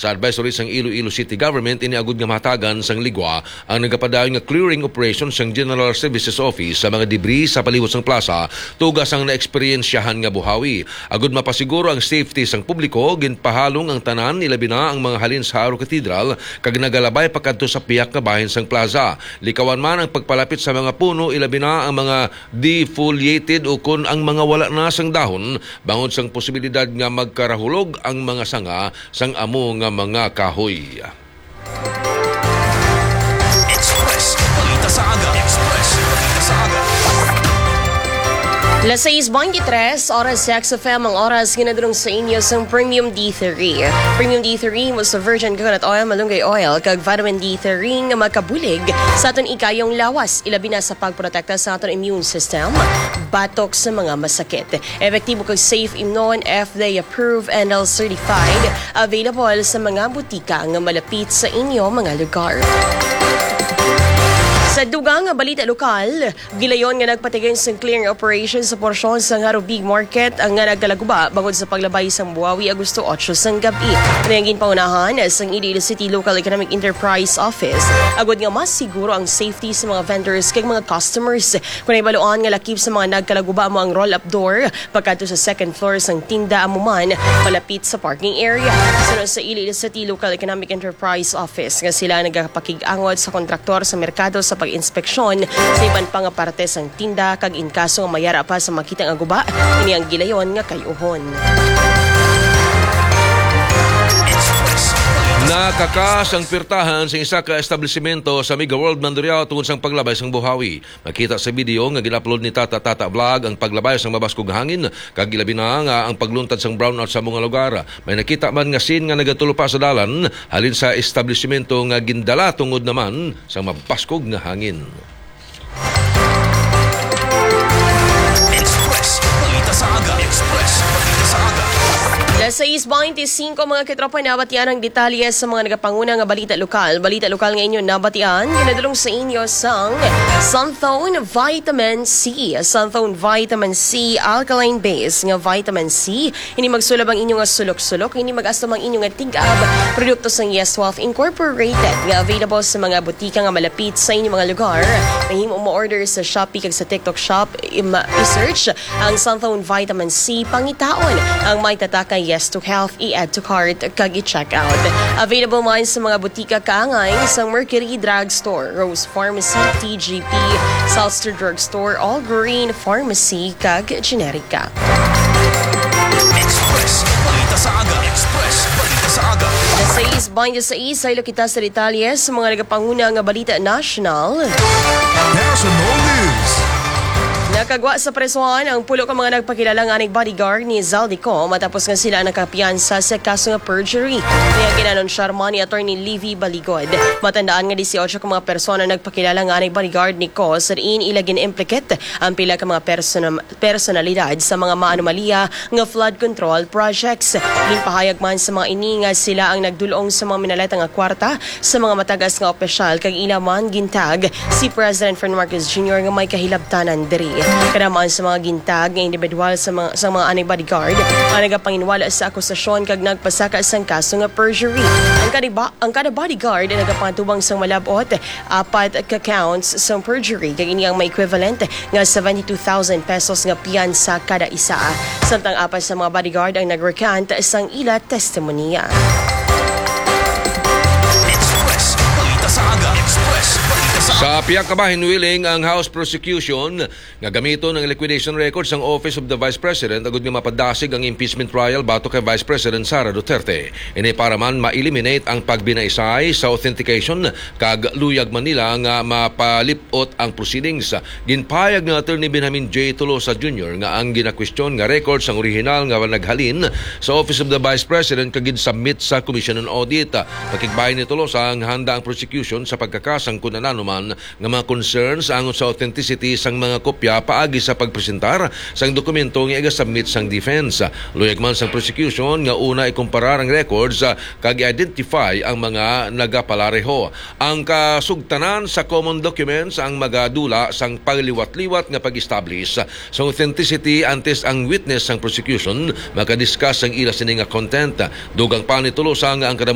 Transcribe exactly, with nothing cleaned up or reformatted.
sa advisory sang Iloilo City Government ini agud nga mahatagan sang ligwa ang nagapadayon nga clearing operation sang General Services Office sa mga debris sa palibot sang plaza, tuga sang naeksperyensyahan nga buhawi. Agud mapasiguro ang safety sang publiko, ginpahalong ang tanan, ilabi na ang mga halin sa Aro Cathedral, kag nagalabay pakadto sa pihak nga bahin sang plaza. Likawan man ang pagpalapit sa mga puno, ilabi na ang mga defoliated ukon ang mga wala na sang dahon, bangod sang posibilidad nga magkarahulog ang mga sanga sang amo nga mga kahoy. Express Balita sa Aga. Express Balita sa Aga. Las sais veintitrés, oras sa X F M, ang oras ginadulong sa inyo sang Premium D three. Premium D three, mo sa virgin coconut oil, malunggay oil, kag vitamin D three nga makabulig sa aton ikayong lawas, ilabi na sa pagprotekta sa aton immune system batok sa mga masakit. Epektibo kag safe imnon, F D A approved and L certified. Available sa mga butika nga malapit sa inyo mga lugar. Sa dugang nga balita lokal, gilayon nga nagpatigin sang clearing operation sa porsyon sang Harubig Market ang nga nagkalaguba bangod sa paglabay sang buhawi Agosto otso sang gab-i. Ini ang ginpaunahan sang Iloilo City Local Economic Enterprise Office agud nga mas siguro ang safety sa mga vendors kag mga customers. Kon nahibaluan nga lakip sa mga nagkalaguba amo ang roll-up door, pagkadto sa second floor sang tinda amo man, malapit sa parking area. Suno sa Iloilo City Local Economic Enterprise Office nga sila nagapakig-angot sa kontraktor sa merkado sa pag-inspeksyon sa iban pa nga parte sang tinda, kag in kaso nga mayara pa sa makita nga guba, ini ang gilayon nga kay-uhon. Nakakas ang pirtahan sa isa ka establisimento sa Mega World Mandurriao tungod sang paglabay sang buhawi. Makita sa video nga gin-upload ni Tata Tata Vlog ang paglabay sang mabaskog nga hangin, kag ilabi na nga ang pagluntad sang brownout sa mga lugar. May nakita man nga scene nga nagatulop sa dalan halin sa establisimento nga gindala tungod naman sa mabaskog nga hangin. Express Balita sa Aga. Express Balita sa Aga. Las sais veinticinco, mga katropa, nabatian ang detalye sa mga nagapanguna nga balita lokal. Balita lokal nga inyo nabatian, ginadulong sa inyo sang Santhone Vitamin C. Santhone Vitamin C, alkaline base nga vitamin C. Ini magsulab ang inyo nga sulok-sulok. Ini mag-astom ang inyo nga tig-ab. Produkto sang Yes Wealth Incorporated nga available sa mga butika nga malapit sa inyo mga lugar. Mahimo mo order sa Shopee kag sa TikTok Shop. Im- i-search ang Santhone Vitamin C, pangitaon ang may tatak nga Yes to Health, i-add to cart, kag i-check out. Available man sa mga butika kaangay sa Mercury Drug Store, Rose Pharmacy, T G P, Salster Drug Store, All Green Pharmacy, kag Generica. Express Balita sa Aga. Express Balita sa Aga. Alas sais veintiséis, saylo kita sa detalye sa mga nagapanguna nga balita nasyonal. National News. Nakagwa sa presohan ang pulo ka mga nagpakilala nga aning bodyguard ni Zaldy Co matapos nga sila nakapiyansa sa kaso nga perjury. Kaya ginanunsyar man ni Attorney Livy Baligod. Matandaan nga dieciocho ka mga persona nagpakilala nga aning bodyguard ni Co sa diin ila gin-implicate ang pila ka mga persona-, personalidad sa mga maanomalya nga flood control projects. Ginpahayag man sa mga ini nga sila ang nagdul-ong sa mga minaleta nga kwarta sa mga matagas nga opisyal, kag ila man gintag si President Ferdinand Marcos Junior nga may kahilabtanan diri. Kada man sa mga gintag nga individual sa mga, sa mga anay bodyguard ang nagapanginwala sa akusasyon kag nagpasaka sang kaso nga perjury. Ang kada ba-, ang kada bodyguard ang nagapangatubang sang malab-ot apat ka counts sang perjury, kag ini ang may equivalent nga seventy-two thousand pesos nga piyansa kada isa. Samtang apat sa mga bodyguard ang nag-recant sang ila testimonya. Express Balita sa Aga. Express Balita sa Sa pihak ka bahin, willing ang House prosecution nga gamiton ang liquidation records sang Office of the Vice President agud nga mapadasig ang impeachment trial batok kay Vice President Sara Duterte. Ini para man ma-eliminate ang pagbinaisay sa authentication kag luyag man nila nga mapalip-ot ang proceedings. Ginpahayag ni Attorney Benjamin J. Tolosa Junior nga ang ginakwestiyon nga records ang orihinal nga naghalin sa Office of the Vice President kag gin-submit sa Commission on Audit. Pakigbahin ni Tolosa nga handa ang prosecution sa pagkakasang kun ano man nga mga concerns angot sa authenticity sang mga kopya paagi sa pagpresentar sang dokumento nga iga-submit sang defense. Luyag man sang prosecution nga una ikumparar ang records, ah, kag i-identify ang mga nagapalareho. Ang kasugtanan sa common documents ang magadula sang pagliwat-liwat nga pag-establish sa authenticity antes ang witness sang prosecution makadiscuss sang ila sini nga content. Dugang pa ni Tolosa nga ang kada